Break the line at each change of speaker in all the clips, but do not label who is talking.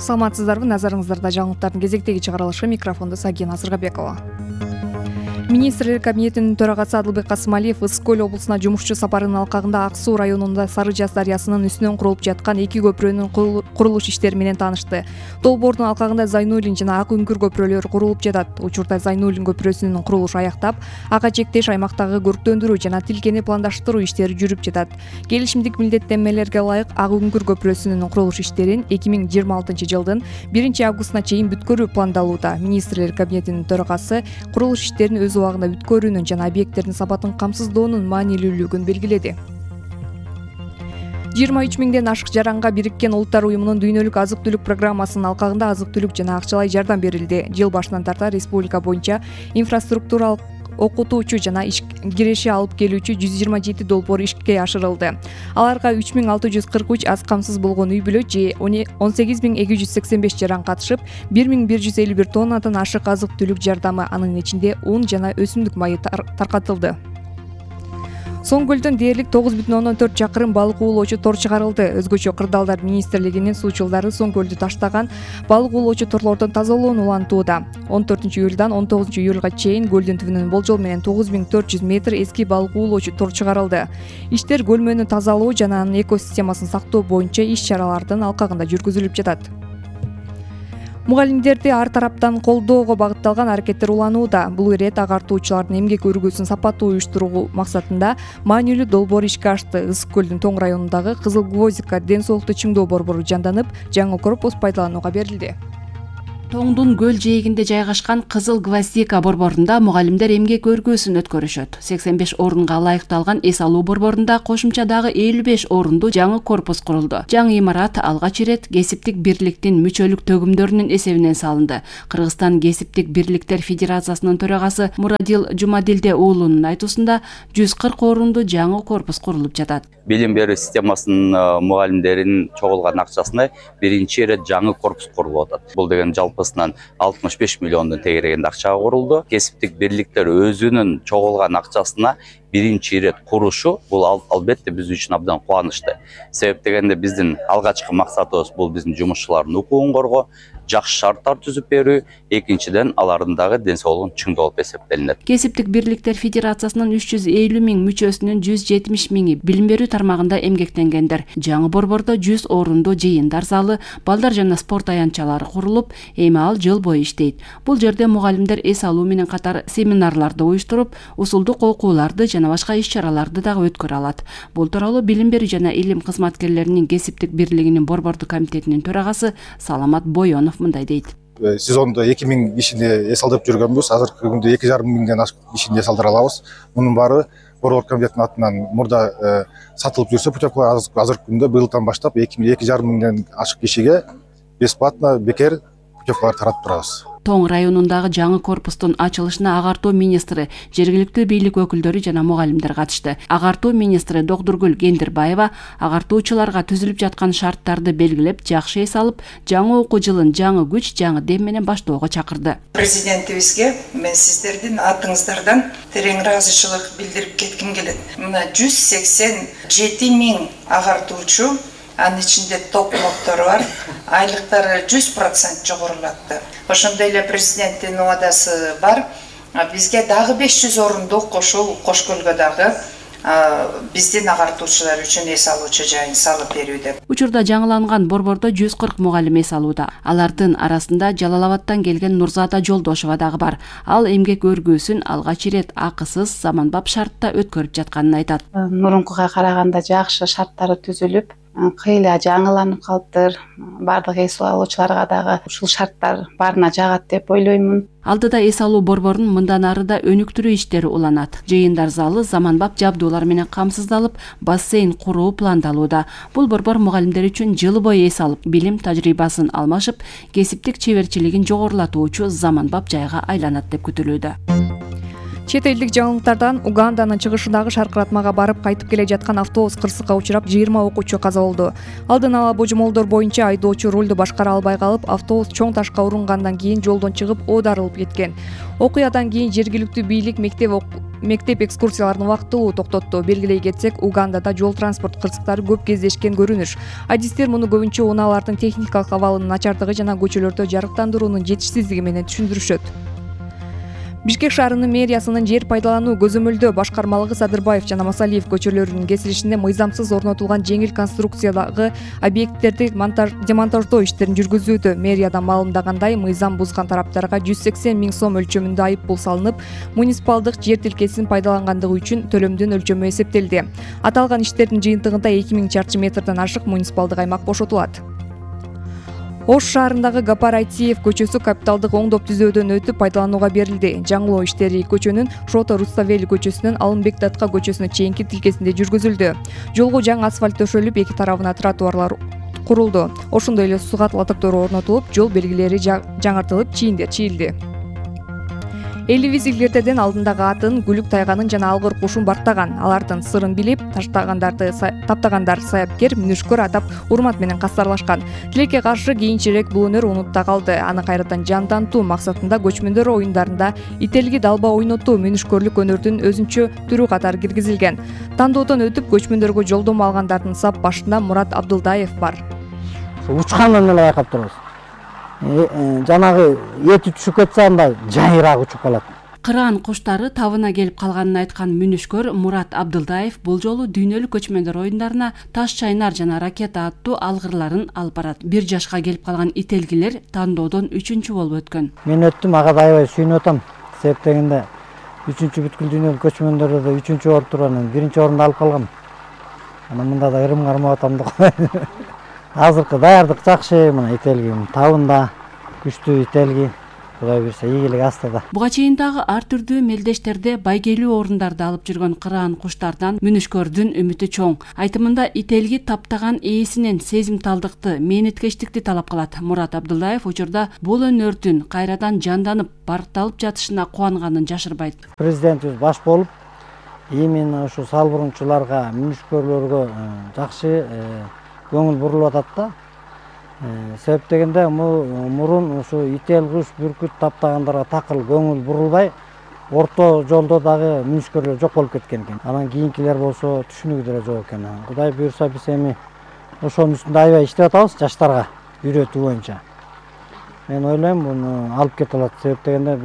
Саламатсыздарбы, назарыңыздарда жаңылыктардын кезектеги чыгарылышы, микрофондо Сагина Сыргабекова. Министрлер кабинетинин төрагасы Адылбек Касымалиев Ысык Көл облусуна жумушчу сапарынын алкагында Ак Суу районунда Сары Жаз дарыясынын үстүнөн курулуп жаткан 2 көпүрөнүн курулуш иштери менен таанышты. Долбоордун алкагында Зайнуллин жана Ак Үңкүр көпүрөлөрү курулуп жатат. Учурда Зайнуллин көпүрөсүнүн курулушу аяктап, ага чектеш аймактагы көрктөндүрүү жана тилкени пландаштыруу иштери жүрүп жатат. Келишимдик милдеттенмелерге ылайык Ак Үңкүр көпүрөсүнүн курулуш иштерин 2026 жылдын 1 августуна чейин бүткөрүү пландалууда. Министрлер кабинетинин төрагасы курулуш иштерин өз убагында бүткөрүүнүн жана объекттердин сапатын камсыздоонун маанилүүлүгүн белгиледи. 23 миңден ашык жаранга Бириккен Улуттар уюмунун дүйнөлүк азык-түлүк программасынын алкагында азык-түлүк жана акчалай жардам берилди. Жыл башынан тарта республика боюнча инфраструктуралык окутуучу жана иш киреши алып келүүчү 127 долбоор ишке ашырылды. Аларга 3643 аз камсыз болгон үй бүлө же 18285 жаран катышып, 1151 тоннадан ашык азык-түлүк жардамы, анын ичинде ун жана өсүмдүк майы таркатылды. Соң көлдөн дээрлик 9,4 чакырым балык уулоочу тор чыгарылды. Өзгөчө Кырдаалдар министрлигинин суучулдары Соң көлдү таштаган балык уулоочу торлордон тазалоону улантууда. 14 июлдан 19 июлга чейин көлдүн түбүнөн болжол менен 9400 метр эски балык уулоочу тор чыгарылды. Иштер көлмөнү тазалоо жана анын экосистемасын сактоо боюнча иш-чаралардын алкагында жүргүзүлүп жатат. Мугалимдерди ар тараптан колдоого багытталган аракеттер уланууда. Бул ирет агартуучулардын эмгек өргүсүн сапаттуу уюштуруу максатында маанилүү долбоор ишке ашты. Ысык Көлдүн Тоң районундагы Кызыл Гвоздика ден соолукту чыңдоо борбору жанданып, жаңы корпус пайдаланууга берилди.
Тоңдун көл жээгинде жайгашкан Кызыл Гвоздика борборунда мугалимдер эмгек өргүүсүн өткөрүшөт. 85 орунга ылайыкталган эс алуу борборунда кошумча дагы 55 орунду жаңы корпус курулду. Жаңы имарат алгач ирет кесиптик бирликтин мүчөлүк төгүмдөрүнүн эсебинен салынды. Кыргызстан кесиптик бирликтер федерациясынын төрагасы Мурадил Жумадилде уулунун айтуусунда 140 орунду жаңы корпус курулуп жатат.
Билим берүү системасынын мугалимдеринин чогулган акчасына биринчи ирет жаңы корпус курулуп атат. Бул деген жалпысынан 65 миллиондун тегерегинде акчага курулду. Кесиптик бирликтер өзүнүн чогулган акчасына биринчи ирет курушу бул албетте биз үчүн абдан кубанычты. Себеп дегенде биздин алгачкы максатыбыз бул биздин жумушчулардын укугун коргоо, жакшы шарттар түзүп берүү, экинчиден алардын дагы ден соолугун чыңдоо болуп эсептелинет.
Кесиптик бирликтер федерациясынын 350 миң мүчөсүнүн 170 миңи билим берүү тармагында эмгектенгендер. Жаңы борбордо 100 орунду жыйындар залы, балдар жана спорт аянтчалары курулуп, эми ал жыл бою иштейт. Бул жерде мугалимдер эс алуу менен катар семинарларды уюштуруп, усулдук окууларды жана башка иш-чараларды дагы өткөрө алат. Бул тууралуу билим берүү жана илим кызматкерлеринин кесиптик бирлигинин борбордук комитетинин төрагасы Саламат Бойонов мындай дейт.
Сезондо 2000 кишини эс алдырып жүргөнбүз. Азыркы күндө 2,5 миңден ашык кишини эс алдыра алабыз. Мунун баары борбор комитетинин атынан мурда сатылып жүрсө, путевкалар азыркы күндө быйылдан баштап 2,5 миңден ашык кишиге бесплатно бекер путевкалар таратып турабыз.
Тоң районундагы жаңы корпустун ачылышына агартуу министри, жергиликтүү бийлик өкүлдөрү жана мугалимдер катышты. Агартуу министри Доктургүл Кендирбаева агартуучуларга түзүлүп жаткан шарттарды белгилеп, жакшы эс алып, жаңы окуу жылын жаңы күч, жаңы дем менен баштоого чакырды.
Президентибизге мен сиздердин атыңыздардан терең ыраазычылык билдирип кетким келет. Мына 187 миң агартуучу, анын ичинде топ-ноттор бар, айлыктары 100% жогорулатты. Ошондой эле президенттин убадасы бар. Бизге дагы 500 орундук Кошкөлгө дагы биздин агартуучулар үчүн эс алуучу жайын салып берүү деп.
Учурда жаңыланган борбордо 140 мугалим эс алууда. Алардын арасында Жалал Абадтан келген Нурзада Жолдошова дагы бар. Ал эмгек өргүүсүн алгач ирет акысыз заманбап шартта өткөрүп жатканын айтат.
Мурункуга караганда жакшы шарттары түзүлүп, кыйла жаңыланып калыптыр. Бардык эс алуучуларга дагы ушул шарттар баарына жагат деп ойлоймун.
Алдыда эс алуу борборунун мындан ары да өнүктүрүү иштери уланат. Жыйындар залы заманбап жабдуулар менен камсыздалып, бассейн куруу пландалууда. Бул борбор мугалимдер үчүн жыл бою эс алып, билим тажрыйбасын алмашып, кесиптик чеберчилигин жогорулатуучу заманбап жайга айланат деп күтүлүүдө.
Чет элдик жаңылыктардан Уганданын чыгышындагы шаркыратмага барып кайтып келе жаткан автобус кырсыкка учурап 20 окуучу каза болду. Алдын ала божомолдор боюнча айдоочу рулду башкара албай калып, автобус чоң ташка урунгандан кийин жолдон чыгып оодарылып кеткен. Окуядан кийин жергиликтүү бийлик мектеп экскурсияларын убактылуу токтотту. Белгилей кетсек, Угандада жол транспорт кырсыктары көп кездешкен көрүнүш. Адистер муну көбүнчө унаалардын техникалык абалынын начардыгы жана көчөлөрдө жарыктандыруунун жетишсиздиги менен түшүндүрүшөт. Бишкек шаарынын мэриясынын жер пайдалануу көзөмөлдөө башкармалыгы Садырбаев жана Масалиев көчөлөрүнүн кесилишинде мыйзамсыз орнотулган жеңил конструкциядагы объекттерди демонтаждоо иштерин жүргүзүүдө. Мэриядан маалымдагандай, мыйзам бузган тараптарга 180 000 сом өлчөмүндө айып пул салынып, муниципалдык жер тилкесин пайдалангандыгы үчүн төлөмдүн өлчөмү эсептелди. Аталган иштердин жыйынтыгында 2000 чарчы метрден ашык муниципалдык аймак бошотулат. Ош шаарындагы Гапар Айтиев көчөсү капиталдык оңдоп түзөөдөн өтүп пайдаланууга берилди. Жаңылоо иштери көчөнүн Шото Руставели көчөсүнөн Алымбек Датка көчөсүнө чейинки тилкесинде жүргүзүлдү. Жолго жаңы асфальт төшөлүп, эки тарабына тротуарлар курулду. Ошондой эле суу катылатыктар орнотулуп, жол белгилери жаңыртылып, чийиндер чийилди. Элибиз илгертеден алдындагы атын, күлүк тайганын жана алгыр кушун бактаган. Алардын сырын билип, таптагандар саяпкер, мүнүшкөр атап урмат менен кастарлашкан. Тилекке каршы кийинчерээк бул өнөр унутта калды. Аны кайрадан жандантуу максатында көчмөндөр оюндарында ителги далба ойнотуу мүнүшкөрлүк өнөрдүн өзүнчө түрү катары киргизилген. Тандоодон өтүп көчмөндөргө жолдомо алгандардын сап башында Мурат Абдылдаев бар.
Учкандан эле байкап турабыз. Жанагы эти түшүп кетсе анда жайыраак учуп калат.
Кыран куштары табына келип калганын айткан мүнүшкөр Мурат Абдылдаев бул жолу дүйнөлүк көчмөндөр оюндарына таш чайнар жана ракета аттуу алгырларын алып барат. 1 жашка келип калган ителгилер тандоодон 3-чү болуп өткөн.
Мен өттүм, ага да аябай сүйүнүп атам. Себеп дегенде 3-чү бүткүл дүйнөлүк көчмөндөрдө да 3-чү болуп туруп анан 1-чи орунду алып калгам. Анан мында да ырым кармап атам да. Азыркы даярдык жакшы, мына ителги табында күчтүү ителги. Кудай берсе ийгилик астыда.
Буга чейин дагы ар түрдүү мелдештерде байгелүү орундарды алып жүргөн кыран куштардан мүнүшкөрдүн үмүтү чоң. Айтымында ителги таптаган ээсинен сезимталдыкты, мээнеткечтикти талап кылат. Мурат Абдылдаев учурда бул өнөрдүн кайрадан жанданып, баркталып жатышына кубанганын жашырбайт.
Президентибиз баш болуп, именно ушу салбурунчуларга, мүнүшкөрлөргө жакшы көңүл бурулуп атат да. Себеп дегенде мурун ушу ител, куш, бүркүт таптагандарга такыр көңүл бурулбай, орто жолдо дагы мүнүшкөрлөр жок болуп кеткен экен. Анан кийинкилер болсо түшүнүгү деле жок экен. Кудай буйрса биз эми ошонун үстүндө аябай иштеп атабыз жаштарга үйрөтүү боюнча. Мен ойлойм муну алып кете алат. Себеп дегенде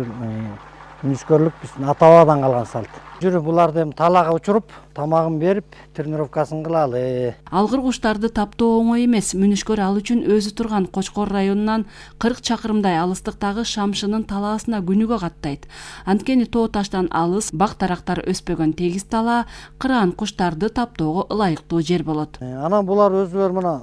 мүнүшкөрлүк биздин ата-бабадан калган салт. Жүрүп буларды эми талаага учуруп, тамагын берип, тренировкасын кылалы.
Алгыр куштарды таптоо оңой эмес. Мүнүшкөр ал үчүн өзү турган Кочкор районунан 40 чакырымдай алыстыктагы Шамшынын талаасына күнүгө каттайт. Анткени тоо таштан алыс, бак-дарактар өспөгөн тегиз талаа кыран куштарды таптоого ылайыктуу жер болот.
Анан булар өзүлөр мына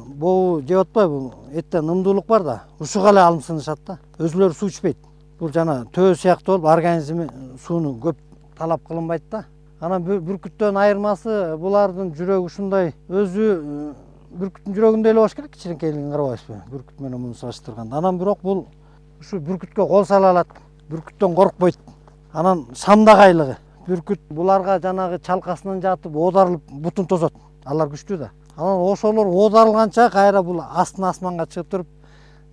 боо жеп атпайбы? Эттен ымдуулук бар да, ушуга эле алымсынышат да. Өзүлөр суу ичпейт. Бул жана төө сыяктуу болуп, организми сууну көп талап кылынбайт да. Анан бүркүттөн айырмасы булардын жүрөгү ушундай, өзү бүркүттүн жүрөгүндөй эле болуш керек, кичинекейлигин карабайсызбы? Бүркүт менен муну салыштырганда. Анан бирок бул ушу бүркүткө кол сала алат, бүркүттөн коркпойт. Анан шамдагайлыгы. Бүркүт буларга жанагы чалкасынан жатып, оодарылып бутун тосот. Алар күчтүү да. Анан ошолор оодарылганча кайра бул астына асманга чыгып туруп,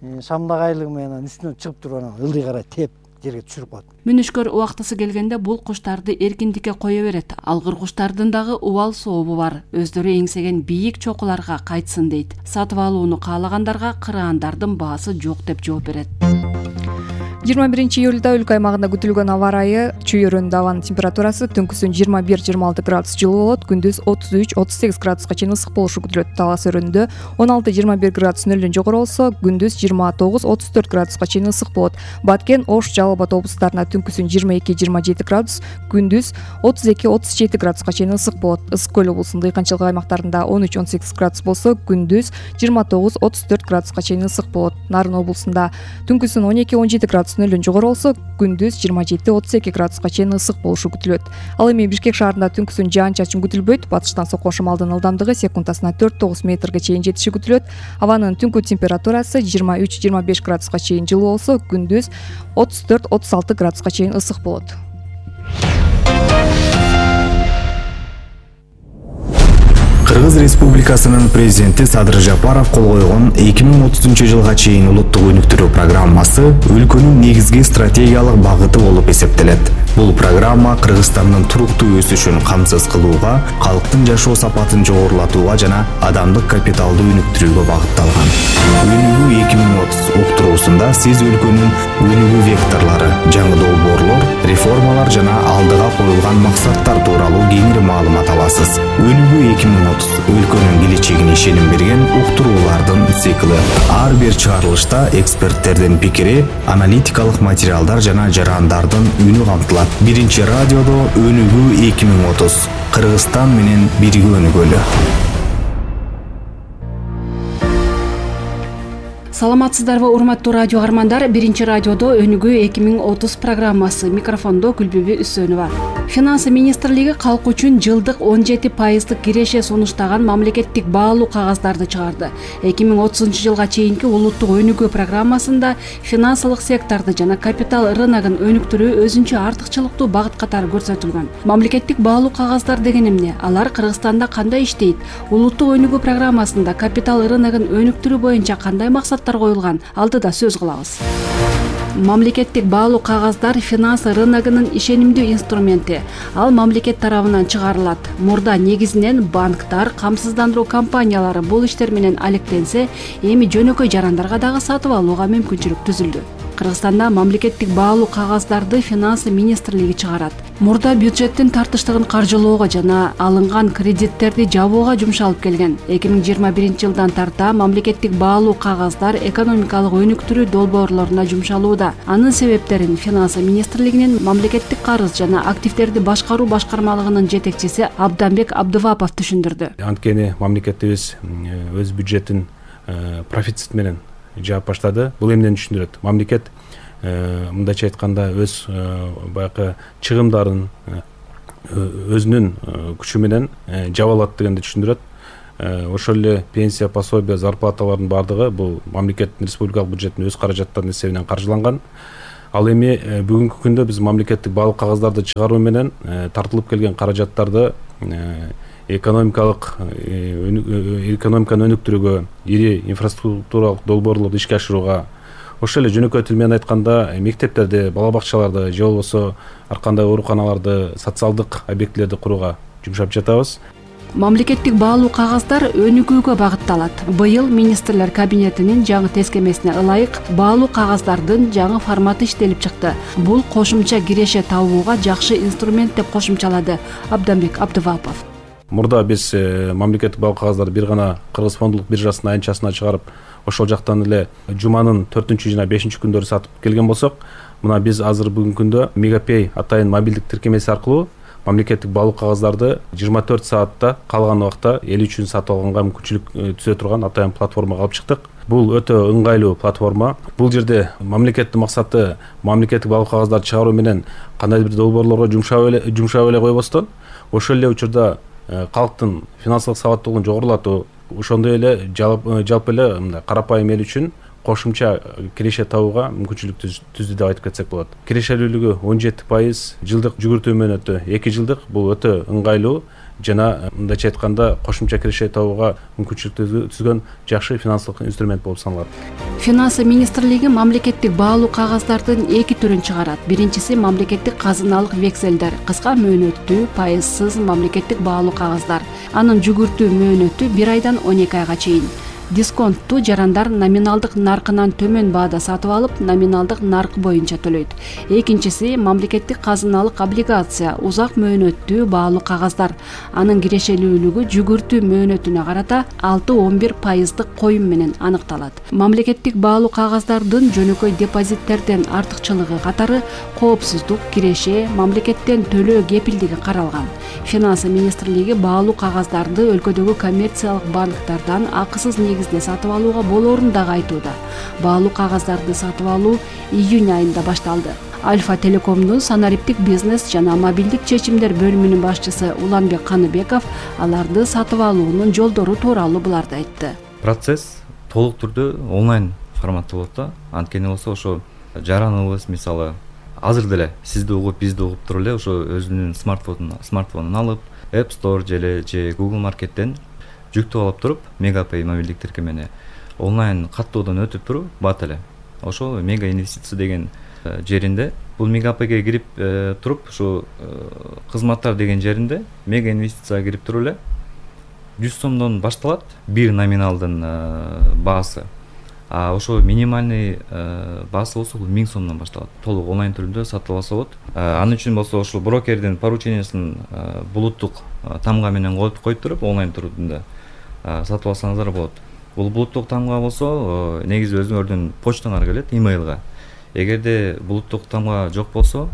шамдагайлыгы менен үстүнөн чыгып туруп анан ылдый карай теп жерге түшүрүп коет.
Мүнүшкөр убактысы келгенде бул куштарды эркиндикке кое берет. Алгыр куштардын дагы убал сообу бар. Өздөрү эңсеген бийик чокуларга кайтсын дейт. Сатып алууну каалагандарга кыраандардын баасы жок деп жооп берет.
21-июлда өлкө аймагында күтүлгөн аба ырайы чүйөрөндө абанын температурасы түнкүсүн 21-26 градус жылуу болот, күндүз 33-38 градуска чейин ысык болушу күтүлөт. Талас өрөндө 16-21 градус нөлдөн жогору болсо, күндүз 29-34 градуска чейин ысык болот. Баткен, Ош, Жалал Абад облустарына түнкүсүн 22-27 градус, күндүз 32-37 градуска чейин ысык болот. Ысык көл облусунун дыйканчылык аймактарында 13-18 градус болсо, күндүз 29-34 градуска чейин ысык болот. Нарын облусунда түнкүсүн 12-17 градус нөлдөн жогору болсо, күндүз 27-32 градуска чейин ысык болушу күтүлөт. Ал эми Бишкек шаарында түнкүсүн жаан-чачын күтүлбөйт. Батыштан соккон шамалдын ылдамдыгы секундасына 4-9 метрге чейин жетиши күтүлөт. Абанын түнкү температурасы 23-25 градуска чейин жылуу болсо, күндүз 34-36 градуска чейин ысык болот.
Кыргыз Республикасынын президенти Садыр Жапаров кол койгон 2030 чейин улуттук өнүктүрүү программасы өлкөнүн негизги стратегиялык багыты болуп эсептелет. Бул программа Кыргызстандын туруктуу өсүшүн камсыз кылууга, калктын жашоо сапатын жогорулатууга жана адамдык капиталды өнүктүрүүгө багытталган. Өнүгүү 2030 уктуруусунда сиз өлкөнүн өнүгүү векторлору, жаңы долбоорлор, реформалар жана алдыга коюлган максаттар тууралуу кеңири маалымат аласыз. Өнүгүү 2030 өлкөнүн келечегине ишеним берген уктуруулардын цикли. Ар бир чыгарылышта эксперттердин пикири, аналитикалык материалдар жана жарандардын үнү камтылат. Биринчи радиодо Өнүгүү 2030. Кыргызстан менен бирге өнүгөлү.
Саламатсыздарбы, урматтуу радио армандар. Биринчи радиодо Өнүгүү 2030 программасы. Микрофондо Күлбүбү Үсөнова. Финансы министрлиги калк үчүн жылдык 17% киреше сунуштаган мамлекеттик баалуу кагаздарды чыгарды. 2030 жылга чейинки улуттук өнүгүү программасында финансылык секторду жана капитал рыногун өнүктүрүү өзүнчө артыкчылыктуу багыт катары көрсөтүлгөн. Мамлекеттик баалуу кагаздар деген эмне? Алар Кыргызстанда кандай иштейт? Улуттук өнүгүү программасында капитал рыногун өнүктүрүү боюнча кандай максаттар коюлган? Алдыда сөз кылабыз. Мамлекеттик баалуу кагаздар финансы рыногунун ишенимдүү инструменти. Ал мамлекет тарабынан чыгарылат. Мурда негизинен банктар, камсыздандыруу компаниялары бул иштер менен алектенсе, эми жөнөкөй жарандарга дагы сатып алууга мүмкүнчүлүк түзүлдү. Кыргызстанда мамлекеттик баалуу кагаздарды финансы министрлиги чыгарат. Мурда бюджеттин тартыштыгын каржылоого жана алынган кредиттерди жабууга жумшалып келген. 2021 жылдан тарта мамлекеттик баалуу кагаздар экономикалык өнүктүрүү долбоорлоруна жумшалууда. Анын себептерин финансы министрлигинин мамлекеттик карыз жана активдерди башкаруу башкармалыгынын жетекчиси Абданбек Абдывапов түшүндүрдү.
Анткени мамлекетибиз өз бюджетин профицит менен жаап баштады. Бул эмнени түшүндүрөт? Мамлекет мындайча айтканда өз баягы чыгымдарын өзүнүн күчү менен жаба алат дегенди түшүндүрөт. Ошол эле пенсия, пособие, зарплаталардын баардыгы бул мамлекеттин республикалык бюджеттин өз каражаттарынын эсебинен каржыланган. Ал эми бүгүнкү күндө биз мамлекеттик баалуу кагаздарды чыгаруу менен тартылып келген каражаттарды экономиканы өнүктүрүүгө, ири инфраструктуралык долбоорлорду ишке ашырууга, ошол эле жөнөкөй тил менен айтканда мектептерди, бала бакчаларды же болбосо ар кандай ооруканаларды, социалдык объектилерди курууга жумшап жатабыз.
Мамлекеттик баалуу кагаздар өнүгүүгө багытталат. Быйыл министрлер кабинетинин жаңы тескемесине ылайык баалуу кагаздардын жаңы форматы иштелип чыкты. Бул кошумча киреше табууга жакшы инструмент деп кошумчалады Абданбек Абдывапов.
Мурда биз мамлекеттик баалуу кагаздарды бир гана Кыргыз фондулук биржасынын айнчасына чыгарып, ошол жактан эле жуманын 4-чү жана 5-чү күндөрү сатып келген болсок, мына биз азыр бүгүнкү күндө Мегапей атайын мобилдик тиркемеси аркылуу мамлекеттик баалуу кагаздарды 24 саатта калган убакта эл үчүн сатып алганга мүмкүнчүлүк түзө турган атайын платформага алып чыктык. Бул өтө ыңгайлуу платформа. Бул жерде мамлекеттин максаты мамлекеттик баалуу кагаздарды чыгаруу менен кандайдыр бир долбоорлорго жумшап эле койбостон, ошол эле учурда калктын финансылык сабаттуулугун жогорулатуу, ошондой эле жалпы эле мындай карапайым эл үчүн кошумча киреше табууга мүмкүнчүлүк түздү деп айтып кетсек болот. Кирешелүүлүгү 17%, жылдык жүгүртүү мөөнөтү 2 жылдык. Бул өтө ыңгайлуу жана мындайча айтканда кошумча киреше табууга мүмкүнчүлүк түзгөн жакшы финансылык инструмент болуп саналат.
Финансы министрлиги мамлекеттик баалуу кагаздардын 2 түрүн чыгарат. Биринчиси мамлекеттик казыналык векселдер, кыска мөөнөттүү, пайызсыз мамлекеттик баалуу кагаздар. Анын жүгүртүү мөөнөтү 1 айдан 12 айга чейин. Дисконтту жарандар номиналдык наркынан төмөн баада сатып алып, номиналдык нарк боюнча төлөйт. Экинчиси мамлекеттик казыналык облигация, узак мөөнөттүү баалуу кагаздар. Анын кирешелүүлүгү жүгүртүү мөөнөтүнө карата 6-11% коюм менен аныкталат. Мамлекеттик баалуу кагаздардын жөнөкөй депозиттерден артыкчылыгы катары коопсуздук, киреше, мамлекеттен төлөө кепилдиги каралган. Финансы министрлиги баалуу кагаздарды өлкөдөгү коммерциялык банктардан акысыз негизде сатып алууга болоорун дагы айтууда. Баалуу кагаздарды сатып алуу июнь айында башталды. Альфа Телекомдун санариптик бизнес жана мобилдик чечимдер бөлүмүнүн башчысы Уланбек Каныбеков аларды сатып алуунун жолдору тууралуу буларды айтты.
Процесс толук түрдө онлайн форматта болот да. Анткени болсо ошо жараныбыз мисалы азыр деле сизди угуп бизди угуп туруп эле ошо өзүнүн смартфонун алып App Store же Google Market'тен жүктөп алып туруп Мегапэй мобилдик тиркемени онлайн каттоодон өтүп туруп бат эле ошол Мега инвестиция деген жеринде бул Мегапэйге кирип туруп ушу кызматтар деген жеринде Мега инвестицияга кирип туруп эле 100 сомдон башталат бир номиналдын баасы. А ошо минимальный баасы болсо бул 1000 сомдон башталат. Толук онлайн түрүндө сатып алса болот. Анын үчүн болсо ошол брокердин поручениясын булуттук тамга менен коюп туруп онлайн түрүндө сатып алсаңыздар болот. Бул булуттук тамга болсо негизи өзүңөрдүн почтаңарга келет, имейлга. Эгерде булуттук тамга жок болсо,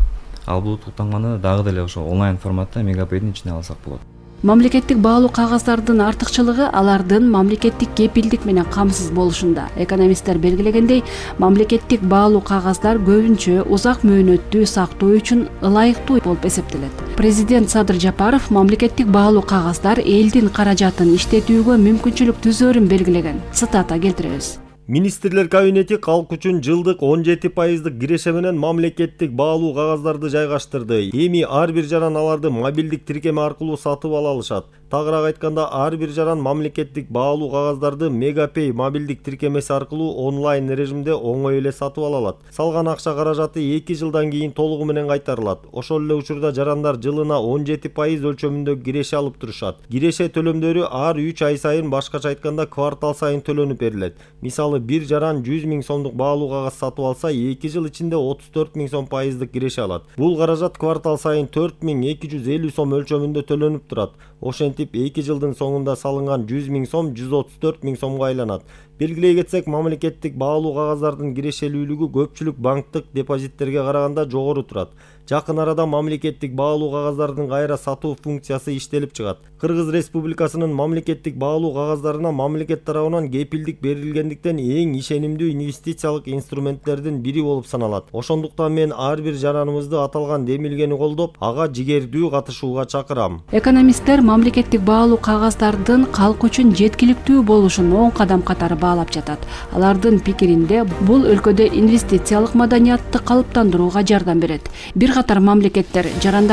ал булуттук тамганы дагы деле ошо онлайн форматта Мегапэйдин ичине алсак болот.
Мамлекеттик баалуу кагаздардын артыкчылыгы алардын мамлекеттик кепилдик менен камсыз болушунда. Экономисттер белгилегендей, мамлекеттик баалуу кагаздар көбүнчө узак мөөнөттүү сактоо үчүн ылайыктуу болуп эсептелет. Президент Садыр Жапаров мамлекеттик баалуу кагаздар элдин каражатын иштетүүгө мүмкүнчүлүк түзөөрүн белгилеген. Цитата келтиребиз.
Министрлер кабинети калк үчүн жылдык 17% киреше менен мамлекеттик баалуу кагаздарды жайгаштырды. Эми ар бир жаран аларды мобилдик тиркеме аркылуу сатып ала алышат. Тагыраак айтканда, ар бир жаран мамлекеттик баалуу кагаздарды Мегапэй мобилдик тиркемеси аркылуу онлайн режимде оңой эле сатып ала алат. Салган акча каражаты 2 жылдан кийин толугу менен кайтарылат. Ошол эле учурда жарандар жылына 17% өлчөмүндө киреше алып турушат. Киреше төлөмдөрү ар 3 ай сайын, башкача айтканда квартал сайын төлөнүп берилет. Мисалы, бир жаран 100 000 сомдук баалуу кагаз сатып алса, 2 жыл ичинде 34 000 сом пайыздык киреше алат. Бул каражат квартал сайын 4250 сом өлчөмүндө төлөнүп турат. Ошентип 2 жылдын соңунда салынган 100 000 сом 134 000 сомго айланат. Белгилей кетсек, мамлекеттик баалуу кагаздардын кирешелүүлүгү көпчүлүк банктык депозиттерге караганда жогору турат. Жакын арада мамлекеттик баалуу кагаздардын кайра сатуу функциясы иштелип чыгат. Кыргыз Республикасынын мамлекеттик баалуу кагаздарына мамлекет тарабынан кепилдик берилгендиктен эң ишенимдүү инвестициялык инструменттердин бири болуп саналат. Ошондуктан мен ар бир жараныбызды аталган демилгени колдоп, ага жигердүү катышууга чакырам.
Экономисттер мамлекеттик баалуу кагаздардын калк үчүн жеткиликтүү болушун оң кадам катары баалап жатат. Алардын пикиринде бул өлкөдө инвестициялык маданиятты калыптандырууга жардам берет. Бир катар мамлекеттер жарандар